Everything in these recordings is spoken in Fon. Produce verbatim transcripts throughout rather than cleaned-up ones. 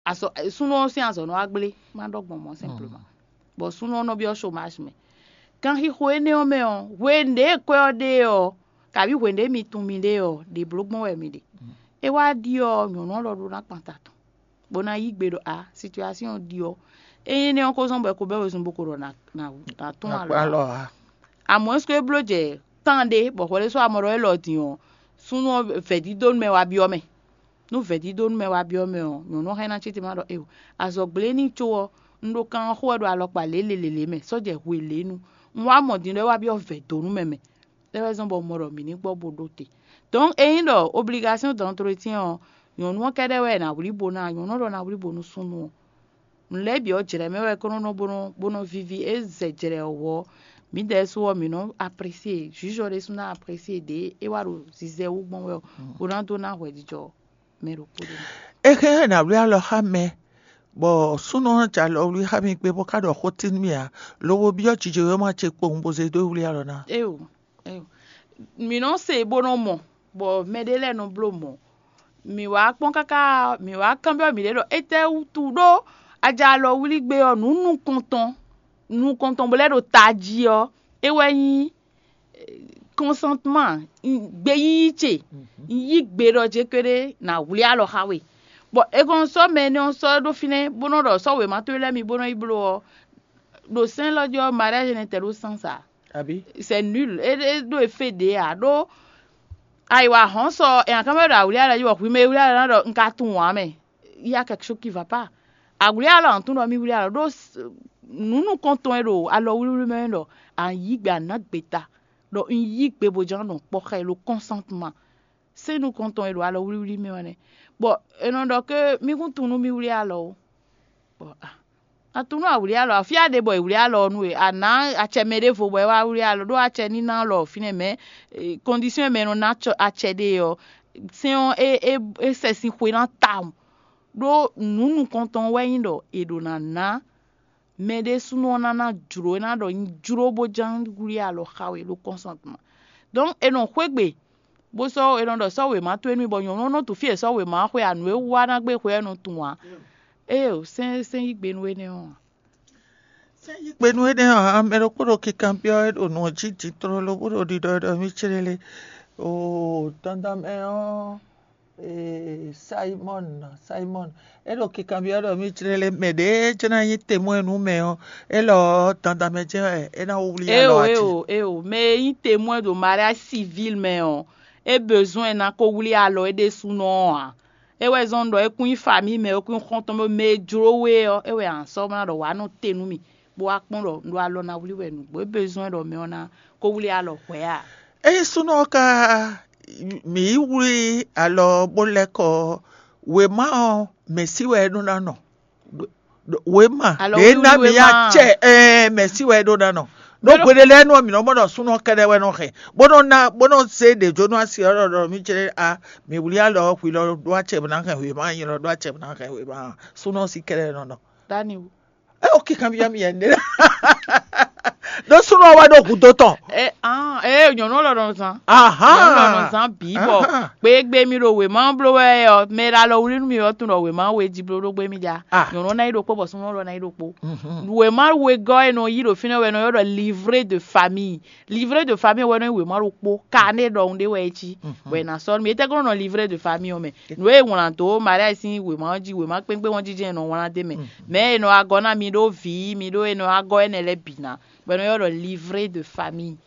Azɔ súnnu ɔ́ sín azɔ̌ nɔ wá gblé, má ɖɔ gbɔn mɔ̌ simplement. Bɔ súnnu ɔ́ nɔ byɔ́ chômage mɛ. Kanxixo énɛ́ ɔ́ mɛ ɔ́, hwenu ɖě kwɛ́ ɔ́ ɖe ɔ́, kabǐ hwenu ɖě mi tunwun mi ɖe ɔ́, ɖě bló gbɔn wɛ mi ɖe. É wá ɖi ɔ́, nyɔ̌nu ɔ́ lɔ ɖó ná kpan ta tɔn, bó ná yí gbe ɖɔ a, situation ɔ́ ɖi ɔ́, ényí énɛ́ ɔ́ ko zɔ́n bɔ è ko bɛ́ wezun bó ko ɖɔ nǎ nǎ nǎ tunwun alɔ ǎ. Amɔ̌ é bló jɛ tán ɖé bɔ hwɛɖésú amɔ ɖɔ élɔ́ din ɔ́, súnnu ɔ́ vɛ̌dídónú mɛ wá byɔ́ mɛ. Nú vɛ̌dídónú mɛ wá byɔ́ mɛ ɔ́, nyɔ̌nu ɔ́ hɛn ná cí te má ɖɔ éeǒ. Azɔ̌ gblé n'i có ɔ́, un ɖo kan ɔ́ xo wɛ ɖo alɔkpa lělelělé mɛ, sɔ́ jɛ hwe lě nu. Un wá mɔ din ɖɔ é wá byɔ́ vɛ̌dónú mɛ mɛ. É wɛ zɔ́n bɔ un mɔ ɖɔ mǐ ní gbɔ bo ɖó te. Dɔ̌n ényí ɖɔ obligasɔ́n d'entretien ɔ́, nyɔ̌nu ɔ́ kɛ́ɖɛ́ wɛ è nǎ wlí bo ná, nyɔ̌nu ɔ́ ɖɔ ná wlí bo nú súnnu ɔ́. Nǔ lɛ́ɛ bǐ ɔ́, jlɛ̌ mɛ wɛ é ko nɔ nɔ bó nɔ bó nɔ víví, é zɛ jlɛ̌ ɔ́ wɔ ɔ́, mǐdɛɛ su ɔ́, mǐ nɔ apresie, jǔjɔ ɖésú ná apresie ɖě é wá ɖo zizɛ wú gbɔn wɛ ɔ́, bó ná dó ná hwɛjijɔ mɛ ɖokpó ɖé mɛ. É hɛn ná wlí alɔ xá mɛ, bɔ súnnu ɔ́ jɛ alɔ wlí xá mì gbé bó ka ɖɔ xó tín mì ǎ, lobo byɔ́ jijewéma ce kpowun bó zé dó wlí alɔ ná. Éyo, éyo. Mǐ nɔ se bó nɔ mɔ, bɔ mɛɖé lɛ́ɛ nɔ bló mɔ̌. Mǐ wá kpɔ́n káká, mǐ wá kanbyɔ́ mǐɖée ɖɔ étɛ́ wútu ɖó a jɛ alɔ wlí gbé ɔ́, nǔ nukɔntɔn nukɔntɔn bó lɛ́ ɖo tají ɔ́, é wɛ nyí kɔnsantman, gbeyíyí ce. Un yí gbe ɖɔ jé kpéɖé ná wlí alɔ xá we. Bɔ è kɔn sɔ́ mɛ énɛ́ ɔ́ sɔ́ ɖó fínɛ́ bó nɔ́ ɖɔ sɔ́ wěma towe lɛ́ɛ mi bó nɔ́ yi bló ɔ́, ɖo sɛ́n élɔ́ jí ɔ́, mariage n'intéressant ça. Abi. C'est nul. É é ɖo e fé ɖě ǎ ɖó ayiwa hɔn sɔ ɛ akan mɛ ɖo awli ala yi wɔ hwi mɛ wli ala ɖɔ un ka tunwun ǎ mɛ. Il y a quelque chose qui va pas. Awli ala ɔn tún ɖɔ mi wli ala ɖó nǔ nukɔntɔn e ɖo alɔ wliwli mɛ ɖɔ an yí gbe an nǎ gbe ta ɖɔ un yí gbe bo ján nɔ kpɔ xɛ lo consentement. Sɛ́n nukɔntɔn e ɖo alɔ wliwli mɛ wɛ nɛ. Bɔ è nɔ ɖɔ ke mí kún tunwun nú mí wlí alɔ ó. Bɔ a tunwun nú a wlí alɔ, afí a ɖe bɔ è wlí alɔ ɔ́ nú we, a nǎ acɛ mɛ ɖěvo bɔ é wá wlí alɔ, ɖó acɛ ní ná lɔ fínɛ́ mɛ, kɔndisɔ́n e mɛ è nɔ ná acɛ ɖe ɔ́, sɛ́n ɔ́ é é é sɛ sín xwe ná tawun. Ɖó nǔ nukɔntɔn wɛ nyí ɖɔ è ɖǒ ná ná mɛ ɖésúnɔ ɔ́ ná ná jlǒ, é ná ɖɔ nyi jló bó ján wlí alɔ xa we ɖó kɔ́nsɔ́ntɔn. Donc è nɔ xwé gbe bó sɔ́ è nɔ ɖɔ sɔ́ wěma towe nú mì bɔ nyɔ̌nu ɔ́ nɔ tunwun fí e è sɔ́ wěma ɔ́ xwe ǎ, nǔ e wú wá ná gbé xwe ɔ́ nɔ tunwun ǎ. Éeǒ, sɛ́n sɛ́n yí gbe nú énɛ́ ɔ́ ǎ. Sɛ́n yí gbe nú énɛ́ ɔ́ ǎ, mɛ ɖokpó ɖo kikanbyɔ́ wɛ ɖo nǔ ɔ́ jí din tlóló bó ɖo ɖiɖɔ ɖɔ mì céɖéle. Oo, dandan mɛ ɔ́, ee, Simɔ́n, Simɔ́n, é ɖo kikanbyɔ́ ɖɔ mì céɖéle, mɛ ɖě jɛ́n ná nyí temwɛ́ nú mɛ ɔ́, élɔ́ ɔ́, dandan mɛ jɛ́n wɛ é ná wlí alɔ Éeǒ, ati. Éeǒ, éeǒ, mɛ e nyí temwɛ́ ɖo mariage civil mɛ ɔ́, é bezoin ná ko wlí alɔ é ɖésúnɔ ɔ́ ǎ. É wɛ zɔ́n ɖɔ é kún nyí famille mɛ, é kún nyí xɔ́ntɔn mɛ, mɛ e jló we ɔ́, é wɛ a nǎ sɔ́ ná ɖɔ wǎ nɔ te nú mì, bó wá kpɔ́n ɖɔ un ɖo alɔ ná wlí wɛ nǔgbó. É bezoin ɖɔ mɛ ɔ́ ná ko wlí alɔ hwɛ̌ a? Ényí súnnu ɔ́ ka mǐ yi wlí alɔ bó lɛ́ kɔ ɔ́, wěma ɔ́, mɛ̌ sí wɛ é ɖó ná nɔ? Wěma Alɔ ɖě ná wíwlí mǐ wěma. Acɛ ɛɛ mɛ̌ sí wɛ é ɖó ná nɔ? Ɖó Mɛ ɖo- hweɖé lɛ́ɛ nú ɔ́, mǐ nɔ mɔ ɖɔ súnnu ɔ́ kɛ́ɖɛ́ wɛ nɔ hɛn, bó nɔ́ ná bó nɔ́ zé ɖě jó nú asi ɔ́ ɖɔ ɖɔ mí cé a mǐ wlí alɔ ɔ́ hwi lɔ ɖó acɛ bó ná hɛn wěma, nyi lɔ ɖó acɛ bó ná hɛn wěma. Súnnu ɔ́ sí kɛ́ɖɛ́ nɔ nɔ. Daniel. É o kíkan byɔ́ mì yɛ ɖé. Ɖó súnnu ɔ́ wá ɖó gǔdo tɔn. Ɛ ah ɛ nyɔ̌nu lɔ nɔ zan. Aha. Nyɔ̌nu lɔ nɔ zan bǐ bɔ Aha. Gbégbé mi ɖo wěma bló wɛ ɔ, mɛ ɖe alɔ wlí nú mi ɔ́ tunɔ wěma we jí bló ɖó gbé mi ja. Ah. Nyɔ̌nu ná yi ɖokpó bɔ súnnu lɔ ná yi ɖokpó. Mhm. Wěma wegɔ́ e nɔ yí ɖo fínɛ́ wɛ nɔ ylɔ́ ɖɔ livret de famille. Livret de famille wɛ nɔ nyí wěma ɖokpó, carnet ɖɔhun ɖé wɛ é cí. Mhm. Bɔ è nǎ sɔ́ nú mi. Étɛ́ kɔn nɔ livret de famille ɔ́ mɛ? Nǔ e è wlǎn dó mariage sín wěma ɔ́ jí, wěma kpékpé ɔ́ jí jɛ́n è nɔ wlán dó mɛ. Mhm. Mɛ e nɔ wá gɔ́ ná mi ɖó vǐ, mi ɖó e nɔ wá gɔ́ énɛ́ lɛ́ɛ bǐ ná, bɔ è nɔ ylɔ́ ɖɔ livret de famille.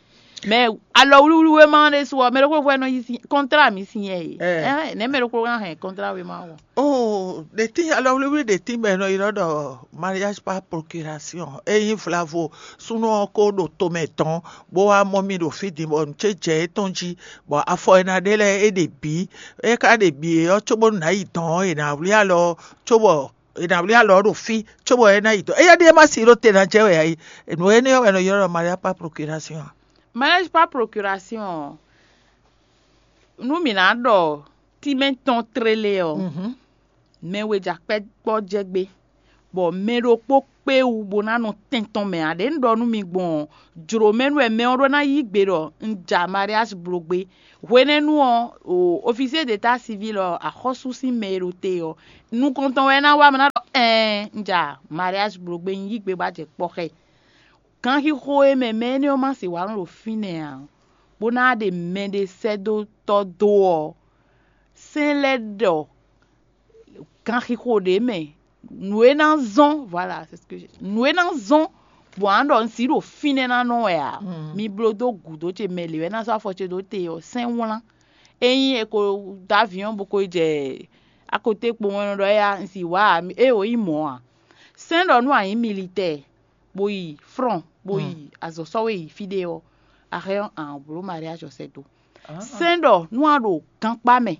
Mɛ alɔ wlíwlí wéma ɖésú ɔ́, mɛ ɖokpó ɖokpó wɛ nɔ yí sin kɔntrá mi sin yɛ e. Ɛ. Ɛn, nɛ̌ mɛ ɖokpó ná hɛn kɔntrá wéma ɔ́? Oh, ɖe tín alɔ wlíwlí ɖe tín bɔ è nɔ ylɔ́ ɖɔ mariage par procuration. Ényí vlavo súnnu ɔ́ ko ɖo tomɛ dɔn, bó wá mɔ mì ɖo fí din bɔ nǔ ce jɛ étɔn jí, bɔ afɔ e ná ɖe lɛ́ɛ é ɖe bǐ. É ka ɖe bǐ é ɔ́, cóbónú nǎ yi dɔn ɔ́, è nǎ wlí alɔ, cóbɔ è nǎ wlí alɔ ɔ́ ɖo fí, cóbɔ é ná yi dɔn. Éyɛ́ ɖíe má si ɖó te ná jɛ wɛ ǎ é. Nǔ énɛ́ ɔ́ wɛ è nɔ ylɔ́ ɖɔ mariage par procuration. Mariage par procuration ɔ́, nú mǐ ná ɖɔ tínmɛ tɔn tlélé ɔ́, Mhm. Mɛ we jɛ akpɛ́ kpɔ́ jɛ gbé, bɔ mɛ ɖokpó kpé wú bó ná nɔ tɛn tɔn mɛ ǎ. Ɖě un ɖɔ nú mi gbɔn ɔ́, jlǒ mɛ nú wɛ mɛ ɔ́ ɖó ná yí gbe ɖɔ un ja mariage bló gbé. Hwenɛ́nu ɔ́, o officier d'état civil ɔ́, axɔ́sú sín mɛ e ɖo te ɔ́, nukɔn tɔn wɛ é ná wá mɛ ná ɖɔ ɛɛn un ja mariage bló gbé, un yí gbe bó a jɛ kpɔ́ xá ɛ. Ganxixo e mɛ mɛ énɛ́ ɔ́ ma sixú wá nɔ ɖo fínɛ́ ǎ, bó ná ɖe mɛɖé sɛ́ dó tɔ́ dó ɔ́, sɛ́n lɛ́ɛ ɖɔ ganxixo ɖě mɛ nǔ e ná zɔ́n, voilà, c'est ce que j'ai- nǔ e ná zɔ́n bɔ a nǎ ɖɔ un sixú ɖo fínɛ́ ná nɔ wɛ ǎ. Mi bló dó gǔdo ce mɛ lě wɛ ná zɔ́ afɔ ce dó te ɔ́, sɛ́n wlán. Ényí è ko dó aviɔn bó ko yi jɛ akoté kpowun wɛ nɔ ɖɔ éyá un si wǎ ǎ, é o nyí mɔ̌ ǎ. Sɛ́n ɖɔ nú a nyǐ militɛ́ɛ, bó yi frɔ́n, bó yi azɔ̌ sɔ́ we yi fí ɖé ɔ́, a hɛn ɔ́, a nǎ bló mariage ɔ́ sɛ́ dó. Sɛ́n ɖɔ nú a ɖo gankpá mɛ,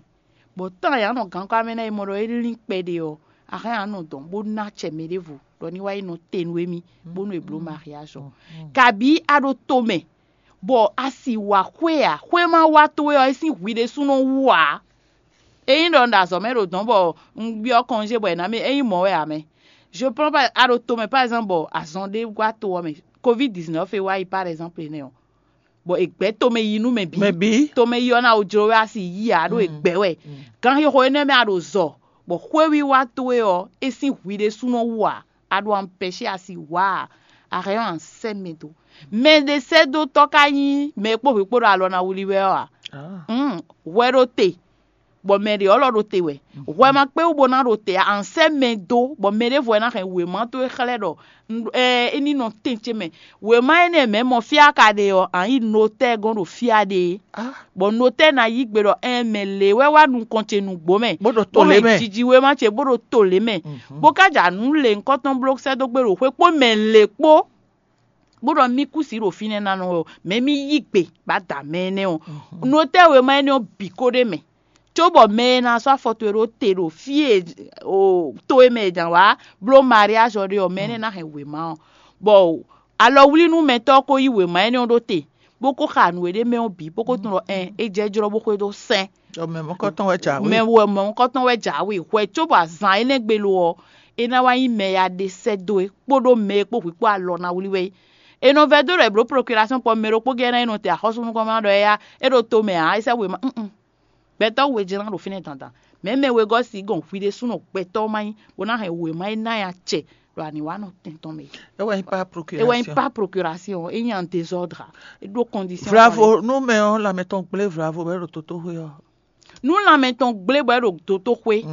bɔ tán e a nɔ gankpá mɛ ná yi mɔ ɖɔ é lín kpɛɖé ɔ́, a hɛn a nɔ dɔn bó ná acɛ mɛ ɖěvo ɖɔ ní wá yi nɔ te nú émí, bónú è blǒ mariage ɔ́. Kabǐ a ɖo to mɛ, bɔ a si wǎ xwé ǎ, xwé ma wá towe ɔ́, é sín hwi ɖésúnɔ wú ǎ. Ényí ɖɔ un ɖo azɔ̌ mɛ ɖo dɔ̌n bɔ un byɔ́ kɔnjé bɔ è nǎ mì, é nyí mɔ̌ wɛ ǎ mɛ. Je prends pas, a ɖo to mɛ par exemple bɔ azɔn ɖé wá to ɔ́ mɛ, covid dix-neuf e wá yi par exemple énɛ́ ɔ́, bɔ è gbɛ̌ tomɛ yi nú mɛ bǐ. Mɛ bǐ. Tomɛ yi ɔ́ ná wǒ jló wɛ a si yí ǎ ɖó è gbɛ̌ wɛ. Ganxixo énɛ́ mɛ a ɖo zɔ, bɔ xwéwiwa towe ɔ́, é sín hwi ɖésúnɔ wú ǎ, a ɖo ampɛ̌si a si wǎ ǎ, a hɛn ɔ́ a sɛ́ mɛ dó. Mɛ ɖé sɛ́ dó tɔ́ ka nyí mɛ e kpó hwǐ kpó ɖo alɔ ná wlí wɛ ɔ́ ǎ. Hwɛ ɖo te, bɔ mɛ ɖě ɔ́ lɔ ɖo te wɛ. Hwɛ ma kpé wú bó ná ɖo te ǎ, a sɛ́ mɛ dó, bɔ mɛ ɖěvo wɛ ná hɛn wěma towe xlɛ́ ɖɔ é ní nɔ tɛn ce mɛ. Wěma énɛ́ mɛ mɔ fí a ka ɖe ɔ́, a nyǐ notɛ́ɛ gɔ́n ɖo fí a ɖe é. Bɔ notɛ́ɛ ná yí gbe ɖɔ ɛn mɛ lě wɛ wá nukɔn ce nǔgbó mɛ, Bó ɖo to lě mɛ. Jijiwéma ce bó ɖo to lě mɛ, bó ka ja nǔ lě ŋkɔtɔn bló sɛ́ dó gbé ɖo xwé kpó mɛ lě kpó, bó ɖɔ mí kú si ɖo fínɛ́ ná nɔ wɛ ɔ́, mɛ mí yí gbe bá da mɛ énɛ́ ɔ́. Notɛ́ɛ wěma énɛ́ ɔ́ bǐ ko ɖ'é mɛ, cóbɔ mɛ e ná sɔ́ afɔ towe ɖó te ɖo fí e to e mɛ è jǎn wá bló mariage ɔ́ ɖe ɔ́, mɛ énɛ́ ná hɛn wěma ɔ́. Bɔ alɔwlínúmɛtɔ́ ɔ́ ko yí wěma énɛ́ ɔ́ ɖó te, bó ko xa nǔ e ɖ'é mɛ ɔ́ bǐ, bó ko tunwun ɖɔ ɛn é jɛ jlɔ́ bó xwedó sɛn. Mɛ mɔ̌kɔtɔn wɛ jǎwe. Mɛ wɛ mɔ̌kɔtɔn wɛ jǎwe. Hwɛ cóbɔ azǎn énɛ́ gbe lo ɔ́, é ná wá nyí mɛ ya ɖe sɛ́ dó é kpódó mɛ e kpó hwǐ kpó alɔ ná wlí wɛ é. È nɔ vɛ́ dó ɖɔ è blǒ procuration kpɔ mɛ ɖokpó gɛ́ ná é nɔ te axɔ́súnukɔn ná ɖɔ éyá é ɖo to mɛ ǎ, é sɛ́ wěma. Gbɛtɔ́ we jɛ́n ná ɖo fínɛ́ dandan. Mɛ̌ mɛ wegɔ́ si gɔn hwi ɖésúnɔ gbɛtɔ́ má nyí, bó ná hɛn wěma e ná nyi acɛ ɖo aniwánɔ tɛn tɔn mɛ. É wɛ nyí pas procuration. É wɛ nyí pas procuration, é nyi en désordre, é ɖó condition. Bravo, nú mɛ ɔ́ lanmɛ tɔn gblé bravo bɔ é ɖo tótóxwé ɔ́. Nú lanmɛ tɔn gblé bɔ é ɖo tótóxwé,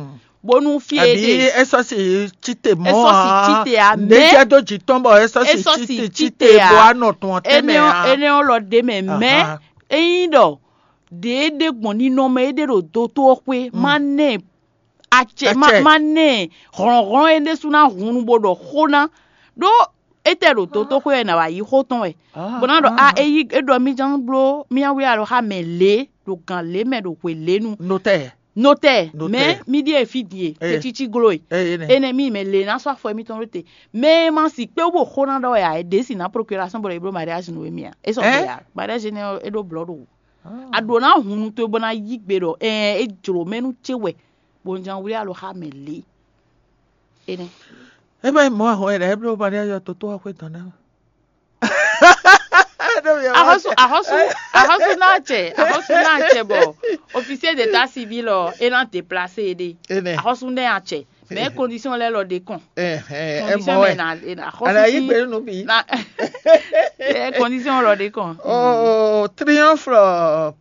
bónú fí e Àbí ɖe é sɔ́ si cíte mɔ̌ é sɔ́ si cíte ǎ, mɛ é jɛ dó jǐ tɔn bɔ é sɔ́ é si sɔ́ si cíte cíte cíte ǎ. Bó wá nɔ tɔn tɛ́ mɛ Énɛ́ ɔ́ ǎ. Énɛ́ ɔ́ lɔ ɖ'é mɛ, mɛ Ahán. Ényí ɖɔ ɖě é ɖe gbɔn ninɔmɛ é ɖe ɖo dotó ɔ́ xwé, má nɛ acɛ má Acɛ. Má nɛ hlɔ̌nhlɔ́n é ɖésú ná hun nu bó ɖɔ xó ná, ɖó étɛ́ ɖo dotó xwé wɛ è nǎ wá yí xó tɔn wɛ, bó ná ɖɔ a é yí é ɖɔ mí ján bló mí ná wlí alɔ xá mɛ lě ɖo gǎn lě mɛ ɖo hwe lě nu. Notɛ́ɛ. Notɛ́ɛ, Notɛ́ɛ. Mɛ mí ɖíe fí din e Eye. Tɛ́cící gló e. Eye nɛ. Énɛ́ mí mɛ lě ná sɔ́ afɔ émítɔn ɖó te. Mɛ e ma si kpé wú bó xó ná ɖɔ wɛ ǎ, é ɖě si ná procuration bɔ è bló mariage nú émí ǎ. É sɔgbe Ɛ? Ǎ. Mariage énɛ́ ɔ́, é ɖó blɔ̌ ɖo wǔ. A ɖǒ ná hun nú towe bó ná yí gbe ɖɔ ɛɛn é jlǒ mɛ nú ce wɛ, bó un ján wlí alɔ xá mɛ lě. Énɛ́. É má nyí mɔ̌ ahɔn e ɖɔ é bló mariage ɔ́ toto wá xwé dɔn ná. Axɔ́sú axɔ́sú axɔ́sú ná acɛ axɔ́sú ná acɛ bɔ officier d'état civil ɔ é ná déplacé é ɖe. Énɛ́. Axɔ́sú ná acɛ. Mɛ condition lɛ lɔ ɖe kɔn. Ɛhɛn, ɛ Condition mɔ mɛ wɛ. Na axɔ́sú Ana yi sí gbenu bi. Na ɛ condition lɔ ɖe kɔn. Oh, triomphe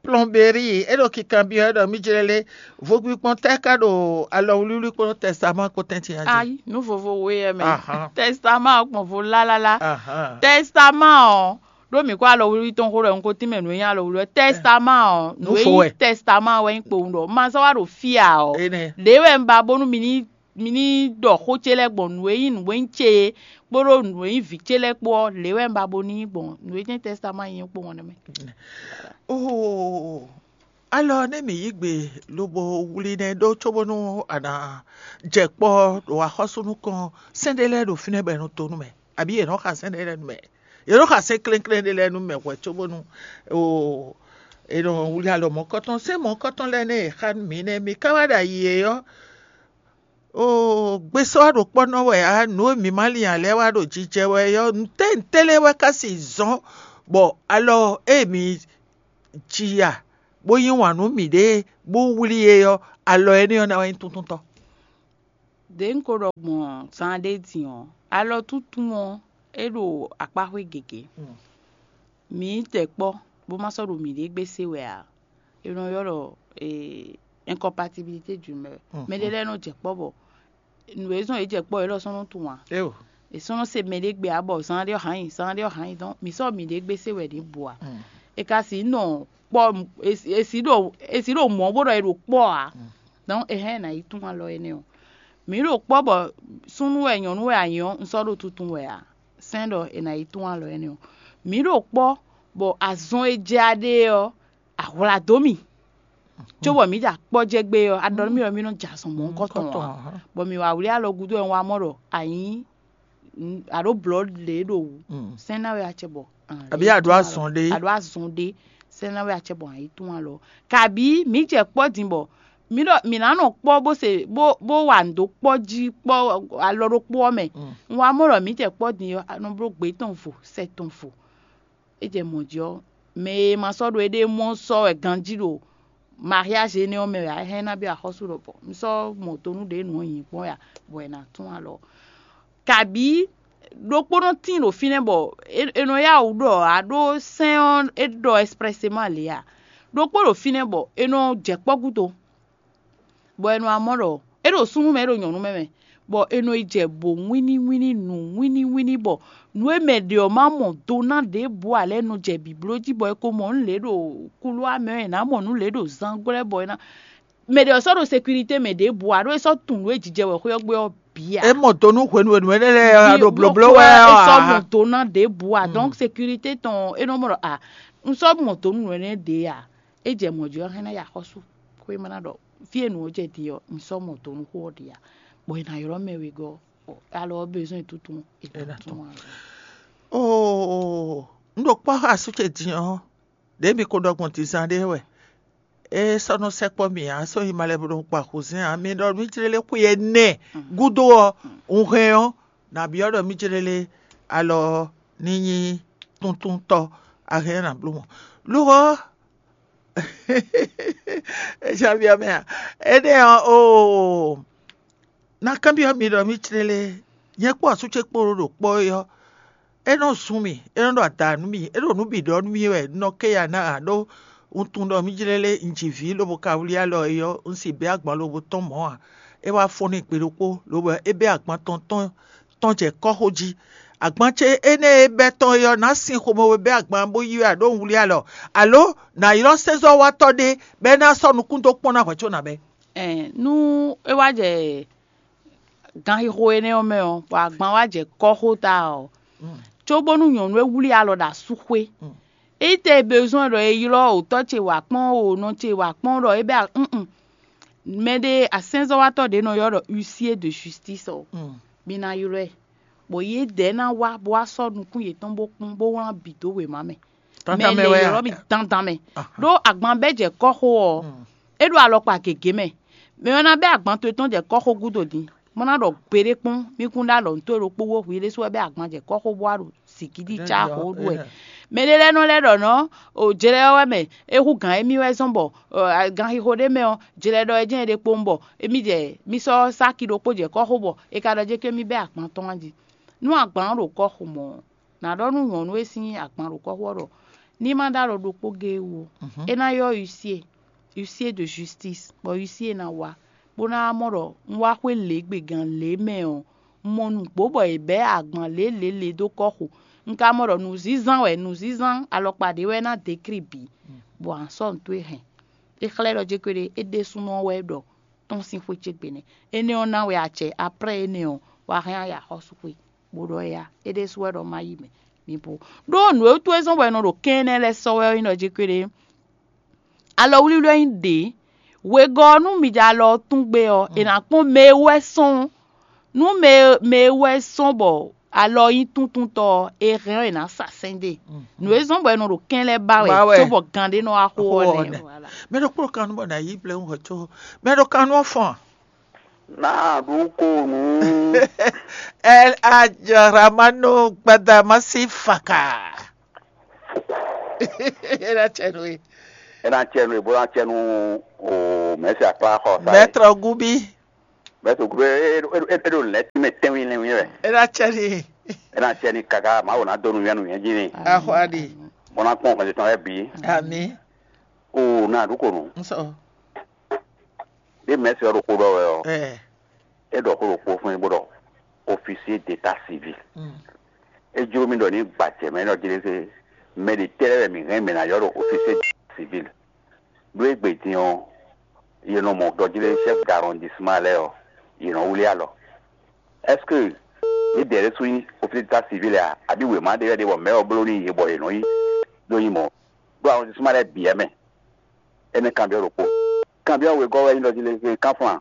plomberie, e ɖo kikanbyɔ́ ɖɔ mí jlɛ́ lé vogbikpɔn tɛ́ ka ɖo alɔwlíwlí kpó tɛ́stamá kpó tɛ́ntin jí. Ayi, nu vovo we yɛ mɛ. Ahan. Tɛ́stamá ɔ́ gbɔn vo lálálá. Ahan. Tɛ́stamá ɔ́ ɖó mǐ kó alɔwlíwlí tɔn xó ɖɔ un ko tínmɛ nǔ e nyí alɔwlíwlí ɔ́. Tɛ́stamá ɔ́, nǔ e nyí Nufo wɛ. Tɛ́stamá wɛ nyí kpowun ɖɔ. Ma sɔ́ wá ɖo fí ǎ ɔ́. Énɛ́. Ɖě wɛ un ba bónú mi ní mi ní ɖɔ xó ce lɛ́ɛ gbɔn nǔ e nyí nǔ e nyí ce é kpódó nǔ e nyí vǐ ce lɛ́ɛ kpó ɔ́, lě wɛ un ba bo ní nyí gbɔn nǔ e jɛ́n tɛ́stamá nyí ɔ́ kpó wɔn nɛ́ mɛ. Oo, alɔ nɛ́ mǐ yí gbe lobo wlí nɛ́ ɖó cóbónú a nǎ jɛ kpɔ́ ɖo axɔ́sú nukɔn sɛ́n ɖé lɛ́ɛ ɖo fínɛ́ bɔ è nɔ to nú mɛ, abǐ yě nɔ xa sɛ́n ɖé lɛ́ɛ nú mɛ. Yě nɔ xa sɛ́n klɛ́nklɛ́n ɖé lɛ́ɛ nú mɛ hwɛ cóbónú oo è nɔ wlí alɔ mɔ̌kɔtɔn. Sɛ́n mɔ̌kɔtɔn lɛ́ɛ nɛ́ è xa nú mǐ nɛ́, mǐ ka wá ɖo ayi é ɔ́, Oo, gbesɔ́ wá ɖo kpɔ́ nɔ wɛ ǎ, nǔ e mǐ ma lin ǎ lɛ́ɛ wá ɖo jijɛ wɛ ɔ́, nǔtɛ́ nǔtɛ́ lɛ́ɛ wɛ ka sixú zɔ́n bɔ alɔ e mǐ ji a, bó yí wǎn nú mǐɖée, bó wlí é ɔ́, alɔ énɛ́ ɔ́ ná wá nyí túntúntɔ́. Đě un ko ɖɔ gbɔn zan ɖé din ɔ́, alɔ túntún ɔ́, é ɖo akpáxwé gěgé. Mǐ jɛ kpɔ́ bó ma sɔ́ ɖo mǐɖée gbé se wɛ ǎ. È nɔ ylɔ́ ɖɔ incompatibilité du mɛ. Mɛɖé lɛ́ɛ nɔ jɛ kpɔ́ bɔ nǔ e zɔ́n yě jɛ kpɔ́ é lɔ sɔ́ nɔ tunwun ǎ. Éo. È sɔ́ nɔ se mɛɖé gbe ǎ bɔ zan ɖé ɔ́ hǎn nyi, zan ɖé ɔ́ hǎn nyi, dɔn mǐ sɔ́ mǐɖée gbé se wɛ ɖě bǔ ǎ. È ka sixú nɔ kpɔ́, è sixú ɖo mɔ̌ bó ɖɔ è ɖo kpɔ́ ǎ. Dɔn è hɛn è nǎ yi tunwun alɔ énɛ́ ɔ́. Mǐ ɖo kpɔ́ bɔ súnnu wɛ nyɔ̌nu wɛ a nyǐ ɔ́, un sɔ́ ɖo tuntun wɛ ǎ. Sɛ́n ɖɔ è nǎ yi tunwun alɔ énɛ́ ɔ́. Mǐ ɖo kpɔ́ bɔ azɔn e jɛ a ɖe ɔ́, a hwlǎ dó mì. Cóbɔ mǐ ɖo akpɔ́ jɛ gbé ɔ́, a ɖɔ nú mì ɖɔ mì nɔ jɛ azɔn mɔ̌hunkɔtɔn ǎ. Bɔ mǐ wá wlí alɔ gúdo wɛ un wá mɔ ɖɔ a nyǐ a ɖǒ blɔ̌ lě ɖo wǔ. Sɛ́n ná wɛ acɛ bɔ Àbí a ɖǒ azɔn ɖé? A ɖǒ azɔn ɖé. Sɛ́n ná wɛ acɛ bɔ a yi tún alɔ. Kabǐ mǐ jɛ kpɔ́ din bɔ mǐ ɖɔ mǐ ná nɔ kpɔ́ bó se bó bó wa nǔ dó kpɔ́ jí kpɔ́ alɔ ɖokpó ɔ́ mɛ. Un wá mɔ ɖɔ mǐ jɛ kpɔ́ din ɔ́, a nɔ bló gbě tɔn vo, sɛ tɔn vo. É jɛ mɔ̌ jí ɔ́, mɛ e ma sɔ́ ɖo éɖée mɔ sɔ́ wɛ ganjí ɖo mariage énɛ́ ɔ́ mɛ wɛ ǎ, é hɛn ná byɔ́ axɔ́sú lɔbɔ. Un sɔ́ mɔ do nú ɖě nǔ ɔ́ nyi kpɔ́n ya, bɔ è nǎ tún alɔ. Kabǐ ɖokpónɔ tíin ɖo fínɛ́ bɔ è nɔ yá wǔ ɖɔ ǎ, ɖó sɛ́n ɔ́ é ɖɔ expressement lě ǎ. Ɖokpó ɖo fínɛ́ bɔ è nɔ jɛ kpɔ́ gúdo, bɔ è nɔ wá mɔ ɖɔ é ɖo súnnu mɛ, é ɖo nyɔ̌nu mɛ mɛ, bɔ è nɔ yi jɛ bo wínníwínní nǔ wínníwínní bɔ nǔ e mɛ ɖě ɔ́ ma mɔ do ná ɖěbǔ ǎ lɛ́ɛ nɔ jɛ bǐbló jí bɔ è ko mɔ nǔ lě ɖo kulúwa mɛ ɔ́, è nǎ mɔ nǔ lě ɖo zangwlɛ́ bɔ è ná mɛ ɖě ɔ́ sɔ́ ɖo sécurité mɛ ɖěbǔ ǎ, ɖó é sɔ́ tunwun nǔ e jijɛ wɛ xwé ɔ́ gbé ɔ́ bǐ ǎ. É mɔ do nú hwenu e nǔ énɛ́ lɛ́ɛ ɔ́ ɖo blǒbló wɛ ɔ́ ǎ. É sɔ́ mɔ do ná ɖěbǔ ǎ, donc sécurité tɔn é nɔ mɔ ɖɔ a un sɔ́ mɔ do nú nǔ énɛ́ ɖě ǎ, é jɛ mɔ̌ jí ɔ́ hɛn ná yi axɔ́sú xwé ma ná ɖɔ fí e nǔ ɔ́ jɛ din ɔ́, un sɔ́ mɔ do nú xó ɔ́ ɖě ǎ, bɔ è nǎ ylɔ́ mɛ wegɔ́, bɔ alɔ ɔ́ bezoin e tuntun è nǎ tún ǎ. Oo, un ɖo kpɔ́ xá asú ce din ɔ́, ɖě mi ko ɖɔ gbɔn dizan ɖé wɛ. É sɔ́ nɔ sɛkpɔ́ mì ǎ, sɔ́ nyi malɛ bo nɔ kpa xuzɛ́n ǎ. Mi ɖɔ nú jlélé xwe ɛnɛ gúdo ɔ́, un hɛn ɔ́, nǎ byɔ́ ɖɔ mí jlélé alɔ ɔ́ ní nyí túntúntɔ́, a hɛn ɔ́ nǎ bló mɔ̌. Lo ɔ́, é já byɔ́ mɛ ǎ. Énɛ́ ɔ́, oo, ná kanbyɔ́ mi ɖɔ mí jlélé, nyɛ kpó asú ce kpó ɖo kpɔ́ é ɔ́, é nɔ zun mì, é nɔ ɖo ada nú mì, é ɖo nǔ bǐ ɖɔ nú mì wɛ, un nɔ ké ya ná ǎ, ɖó un tunwun ɖɔ mí jlélé un ji vǐ lobo ka wlí alɔ é ɔ́, un sì bɛ́ agban lobo tɔ́n mɔ̌ ǎ. É wá fɔ́n n'i gbe ɖokpó, lobo é bɛ́ agban tɔn tɔn tɔn jɛ kɔ́xo jí. Agban ce énɛ́ e bɛ́ tɔn é ɔ́, nǎ sin xomɛ we bɛ́ agban bó yí wɛ ǎ, ɖó un wlí alɔ, alo nǎ ylɔ́ sɛ́nzɔ́watɔ́ ɖé, bɔ é ná sɔ́ nukún dó kpɔ́n ná hwɛ̌ có nǎ bɛ́. Ɛn nú é wá jɛ ganxixo énɛ́ ɔ́ mɛ ɔ́, bɔ agban wá jɛ kɔ́xota ɔ́, cóbónú nyɔ̌nu e wlí alɔ ɖo asú xwé. Ényí tɛ e bezoin ɖɔ è ylɔ́ òtɔ́ ce wǎ kpɔ́n, o nɔ ce wǎ kpɔ́n ɖɔ é bɛ́ nn mɛɖé asɛ́nzɔ́watɔ́ ɖě nɔ ylɔ́ ɖɔ huissier de justice ɔ́, mi ná ylɔ́ ɛ, bɔ yědɛɛ ná wá bó wá sɔ́ nukún yětɔn bó kpɔ́n bó wlán bǐ dó wěma mɛ. Mɛ lě ylɔ́ mì dandan mɛ. Ɖó agban bɛ́ jɛ kɔ́xo ɔ́, é ɖo alɔkpa gěgé mɛ. Mɛ ɔ́ ná bɛ́ agban towe tɔn jɛ kɔ́xo gúdo din, bó ná ɖɔ gbeɖé kpɔ́n, mí kún ɖó alɔ nǔ towe ɖokpó wó hwi ɖésú wɛ bɛ́ agban jɛ kɔ́xo bó wá ɖo sǐkíɖí cá xo ɖu wɛ. Mɛ ɖé lɛ́ɛ nɔ lɛ́ ɖɔ nɔ́, o jlɛ ɔ́ wɛ mɛ é hú gǎn émí wɛ zɔ́n bɔ ganxixo ɖé mɛ ɔ́, jlɛ ɖɔ é jɛ́n é ɖe kpowun bɔ émí jɛ mí sɔ́ sáki ɖokpó jɛ kɔ́xo bɔ è ka ɖɔ jɛ́n kɛ́n mì bɛ́ agban tɔn jí. Nú agban ɔ́ ɖo kɔ́xo mɔ̌, nǎ ɖɔ nú nyɔ̌nu e sín agban ɖo kɔ́xo ɔ́ ɖɔ ní má ɖó alɔ ɖokpó géé wú ó. É ná ylɔ́ huissier, huissier de justice, bɔ huissier ná wá, bó ná wá mɔ ɖɔ un wá xwé lě gbe gǎn lě mɛ ɔ́, un mɔ nǔgbó bɔ è bɛ̌ agban lě lě lě dó kɔ́xo. Un ka mɔ ɖɔ nǔzínzán wɛ, nǔzínzán alɔkpa ɖě wɛ ná dékrí bǐ, bɔ a nǎ sɔ́ nǔ towe hɛn. É xlɛ́ ɖɔ jɛ́n kpéɖé é ɖésúnɔ wɛ ɖɔ tɔ́n sín xwé ce gbe nɛ́. Énɛ́ ɔ́ ná wɛ acɛ, aprɛ́ énɛ́ ɔ́, wá hɛn aya xɔ́sú xwé, bó ɖɔ éyá, é ɖésú wɛ ɖɔ má yi mɛ. Mi bo ɖó nǔ e wútu é zɔ́n bɔ è nɔ ɖo kɛ́n énɛ́ lɛ́ɛ sɔ́ wɛ ɔ́ nyí ɖɔ jɛ́n kpéɖé alɔwlíwlí ɔ́ nyí ɖě. Wegɔ́ ɔ́, nú mi jɛ alɔ ɔ́ tún gbé ɔ́, è nǎ kpɔ́n mɛ e wɛ sɔ́n. Nú mɛ e mɛ e wɛ sɔ́n bɔ alɔ ɔ́ nyí túntúntɔ́ ɔ́, è hɛn ɔ́, è nǎ sa sɛ́n dó e. Nǔ e zɔ́n bɔ è nɔ ɖo kɛ́n lɛ́ɛ ba wɛ, cóbɔ gan ɖé nɔ wá xo ɔ́ nɛ́. Mɛ ɖokpó ɖo kan nú bɔ nǎ yí blɛ́ hwɛ có mɛ ɖo kan nú ɔ́ fɔ́n a? Ná ɖu ko nǔ. El Hadj Ramanu Gbadamasi Faka. É ná cɛ nú we. É ná cɛ nú we bó ná cɛ nú o mɛ̌si akpá xɔ sa. Mɛtrɔ Gubi. Mɛtrɔ Gubi é é é é ɖo lɛ̌ tínmɛ tɛ́nwí lɛ́nwí wɛ. É ná cɛ n'i. É ná cɛ n'i kaka Mawu ná dó nú yɛn nú yɛn jí ni. Axɔ aɖi. Bó ná kpɔn xɛsi tɔn lɛ́ɛ bǐ. Ami. O ná ɖu ko nǔ. N sɔ. Ɖé mɛ̌si ɔ́ ɖo xó ɖɔ wɛ ɔ́. Ɛ. É ɖɔ xó ɖokpó fún mì bó ɖɔ officier d'état civil. Mm. É jló mì ɖɔ ní gbajɛ mɛ ɖɔ jlé mɛ ɖě tɛ́ lɛ́ɛ wɛ mǐ hɛn mɛ ná ylɔ́ ɖo officier d'état civil. Ɖó égbé din ɔ́, yě nɔ mɔ ɖɔ jlé chef d'arrondissement lɛ́ɛ ɔ́, yě nɔ wlí alɔ. Est-ce que ní dɛ̌ ɖésú nyí officier d'état civil a, abǐ wěma ɖé wɛ ɖe bɔ mɛ̌ ɔ́ bló n'i yě bɔ yě nɔ yí ɖó nyí mɔ̌? Ɖó arrondissement lɛ́ɛ bǐ wɛ mɛ. Énɛ́ kanbyɔ́ ɖokpó. Kanbyɔ́ wegɔ́ wɛ nyí ɖɔ jí lé kánflán.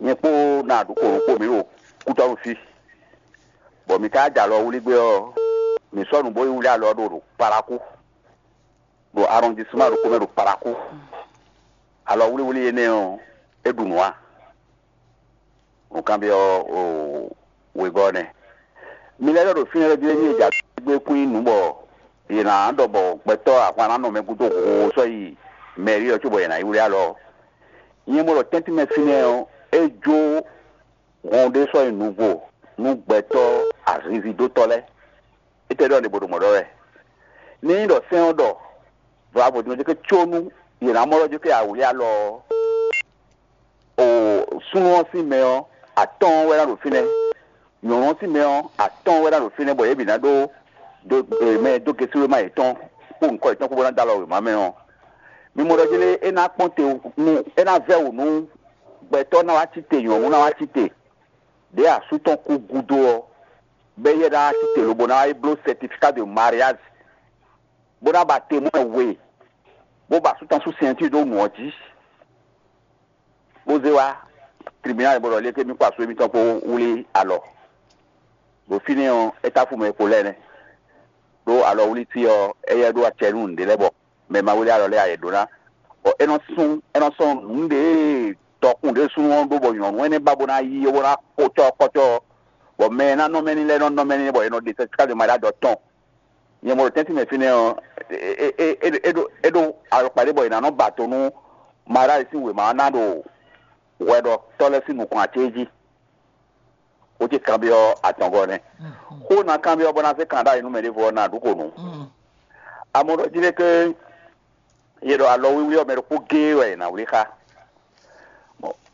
Nyɛ kpó ná ɖokpó ɖokpó mǐ ɖo kútɔ́nú fí, bɔ mǐ ka jɛ alɔ wlí gbé ɔ́, mǐ sɔ́ nǔ bó yi wlí alɔ ɖo ɖo Palakú, ɖo arɔndisman ɖokpó mɛ ɖo Palakú. Alɔ wlíwlí énɛ́ ɔ́, é ɖu nǔ a? Nǔkanbyɔ́ wegɔ́ ɔ́ nɛ́. Mi lɛ́ ɖɔ ɖo fínɛ́ lɛ́ɛ jí é ní e jǎ gbé kún nyí nǔ bɔ yě ná ɖɔ bɔ gbɛtɔ́ ahwan ná nɔ mɛ gúdo hoo sɔ́ yi mɛ̌rí ɔ́ cóbɔ yě ná yi wlí alɔ ɔ́. Nyɛ mɔ ɖɔ tɛ́ntin mɛ fínɛ́ ɔ́, é jó hɔn ɖé sɔ́ nyi nǔvo nú gbɛtɔ́ azinzindótɔ́ lɛ́ɛ. Étɛ́ ɖɔ ɖě bó ɖo mɔ̌ ɖɔ wɛ? Ní nyí ɖɔ sɛ́n ɔ́ ɖɔ vɔ̌ din ɔ́ có nú yě ná mɔ ɖɔ jó ké awlí alɔ ɔ́, o súnnu ɔ́ sín mɛ ɔ́, atɔ́ɔ́n wɛ ná ɖo fínɛ́; nyɔ̌nu ɔ́ sín mɛ ɔ́, atɔ́ɔ́n wɛ ná ɖo fínɛ́, bɔ yě bǐ ná ɖó dó mɛ dó gesúlóma yětɔn kpó nyǐkɔ yětɔn kpó bó ná dó alɔ wěma mɛ ɔ́, mi mɔ ɖɔ jlé é ná kpɔ́n te nú é ná vɛ́ wǔ nú gbɛtɔ́ ná wá cí te, nyɔ̌nu ná wá cí te, ɖěe asú tɔn kú gúdo ɔ́, bɔ éyɛ́ ná wá cí te lobo ná wá yi bló certificat de mariage, bó ná ba temwɛ́n we, bó ba asú tɔn sú sɛntín dó nǔ ɔ́ jí, bó zé wá tribunal bó ɖɔ lé ké mì kpó asú émítɔn kpó wlí alɔ. Ɖo fínɛ́ ɔ́, é táfú mɛ e kpo lɛ́ɛ nɛ́. Ɖó alɔwlítí ɔ́, éyɛ́ ɖó acɛ nú nǔɖé lɛ́ɛ bɔ mɛ ma wlí alɔ lɛ́ɛ ǎ yě ɖó ná. Bɔ é nɔ sún é nɔ sɔ́ nǔɖé dɔkun ɖé súnnu ɔ́ ɖó bɔ nyɔ̌nu énɛ́ ba bó ná yí bó ná xo cɔ́ kɔ́cɔ́, bɔ mɛ e ná nɔ mɛ ní lɛ́ɛ nɔ nɔ mɛ ní bɔ è nɔ ɖe sɛsika ɖo maɖá ɖɔ tɔn. Nyɛ mɔ ɖo tɛ́ntin mɛ fínɛ́ ɔ́, é ɖó alɔkpa ɖé bɔ è nǎ nɔ ba to nú maɖá e sín wěma ɔ́ ná ɖo hwɛɖɔtɔ́ lɛ́ɛ sín nukɔn acé jí. Xó ce kanbyɔ́ atɔngɔ́ nɛ́. Xó ná kanbyɔ́ bɔ ná zé kan ɖ'ayǐ nú mɛ ɖěvo ɔ́ ná ɖu xo nǔ. Amɔ ɖɔ jí ɖé ké yě ɖɔ alɔ wíwlí ɔ́ mɛ ɖokpó géé wɛ è nǎ wlí xá.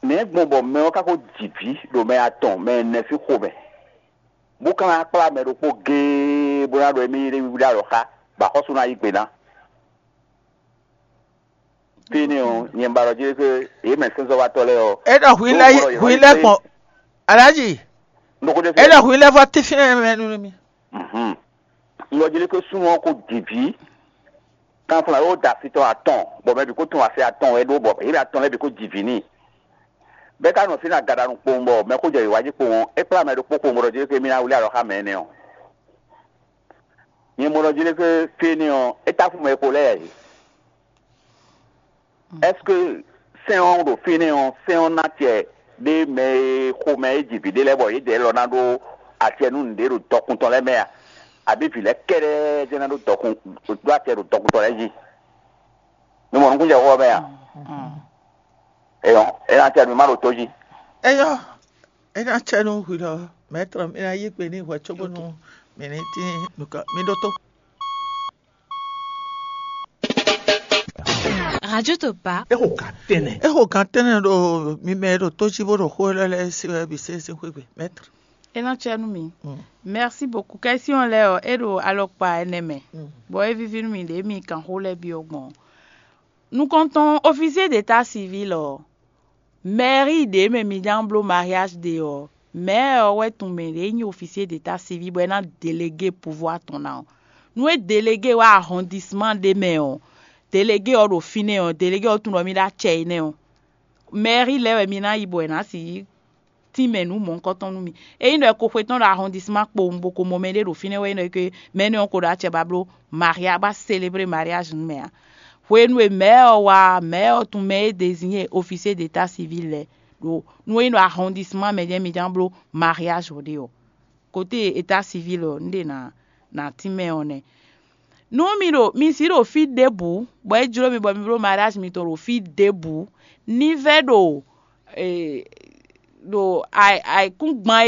Nɛ̌ gbɔn bɔ mɛ ɔ́ ka ko ji vǐ ɖo mɛ atɔn mɛ ɛnɛ sín xomɛ, bó ka ná kplá mɛ ɖokpó géé bó ná ɖɔ émí yi ɖé wíwlí alɔ xá, bɔ axɔ́sú ná yí gbe ná? Fínɛ́ ɔ́, nyɛ ba ɖɔ jí ɖé ké yě mɛ sɛ́nsɔ́watɔ́ lɛ́ɛ ɔ́, É ɖɔ hwi lɛ́ɛ hwi lɛ́ɛ gbɔn Alhaji. Nukúndé É ɖɔ hwi lɛ́ɛ vɔ tífínɛ́ mɛ nú mi. Mhm. Un ɖɔ jí ɖé ké súnnu ɔ́ ko ji vǐ. Kanflán yóò da asi tɔn atɔn, bɔ mɛ bǐ kó tunwun asi atɔn wɛ ɖó, bɔ yě mɛ atɔn lɛ́ɛ bǐ kó ji vǐ n'i. Bɛ́ ka nɔ fínɛ́ agaɖanu kpowun, bɔ mɛ xó jɛ yě wá jí kpowun ɔ́, é kplá mɛ ɖokpó kpowun bó ɖɔ jí ké mì ná wlí alɔ xá mɛ énɛ́ ɔ́. Nyɛ mɔ ɖɔ jí ɖé ké fínɛ́ ɔ́, é táfú mɛ e ko lɛ́ɛ ǎ é. Est-ce que sɛ́n ɔ́ ɖo fínɛ́ ɔ́, sɛ́n ɔ́ ná acɛ ɖé mɛ e xomɛ é ji vǐ ɖé lɛ́ɛ bɔ yědɛɛ lɔ ná ɖó acɛ nú nǔɖé ɖo dɔkun tɔn lɛ́ɛ mɛ a? Abǐ vǐ lɛ́ɛ kɛ́ɖɛ́ jɛ́n ná ɖó dɔkun ɖó acɛ ɖo dɔkun tɔn lɛ́ɛ jí? Mi mɔ nukúnjɛ xó ɔ́ mɛ a? Eyɔn, é ná acɛ nú mì má ɖo tó jí. Eyɔn, é ná acɛ nú hwi lɔ, mɛ̌trɔ, mi ná yí gbe n'i hwɛ cóbónú mǐ ní tín nukɔn. Mi ɖótó. Radio Topa. É xo gǎn tɛ́nnɛ. É xo gǎn tɛ́nnɛ ɖo mi mɛ e ɖo tó jí bó ɖo xó élɔ́ lɛ́ɛ sí wɛ bǐ sésé xwé gbe, maître. É ná cɛ nú mi. Mm. Merci beaucoup. Question lɛ́ɛ ɔ́, é ɖo alɔkpa ɛnɛ mɛ. Mm. Bɔ é víví nú mi ɖě mi kan xó lɛ́ɛ byɔ́ gbɔn. Nukɔntɔn officier d'état civil ɔ́, mairie ɖě mɛ mi ján bló mariage ɖe ɔ́, maire ɔ́ wɛ tunwun mɛ ɖě nyí officier d'état civil bɔ é ná délégué pouvoir tɔn ná ɔ́. Nú é délégué wá arrondissement ɖé mɛ ɔ́, délégué ɔ́ ɖo fínɛ́ ɔ́, délégué ɔ́ tunwun ɖɔ mì ɖó acɛ énɛ́ ɔ́, mairie lɛ́ɛ wɛ mi ná yi bɔ è nǎ sixú tínmɛ nǔ mɔ̌hunkɔtɔn nú mi. Ényí ɖɔ è ko xwetɔ́n ɖo arrondissement kpowun bó ko mɔ mɛɖé ɖo fínɛ́ wɛ é nɔ yi ke mɛ énɛ́ ɔ́ ko ɖo acɛ ba bló maria ba célébrer mariage nú mɛ ǎ. Hwenu e maire ɔ́ wá ɔ́, maire ɔ́ tunwun mɛ e désigné officier d'état civil lɛ́ɛ. ɖo nú é nyí ɖo arrondissement mɛ jɛ́n mi ján bló mariage ɔ́ ɖe ɔ́, côté état civil ɔ́, un ɖe na na tínmɛ ɔ́ nɛ́. Nú mi ɖo mi si ɖo fí ɖěbǔ, bɔ é jló mi bɔ mi bló mariage mitɔn ɖo fí ɖěbǔ, ní vɛ́ ɖo ɖo ayǐkúngban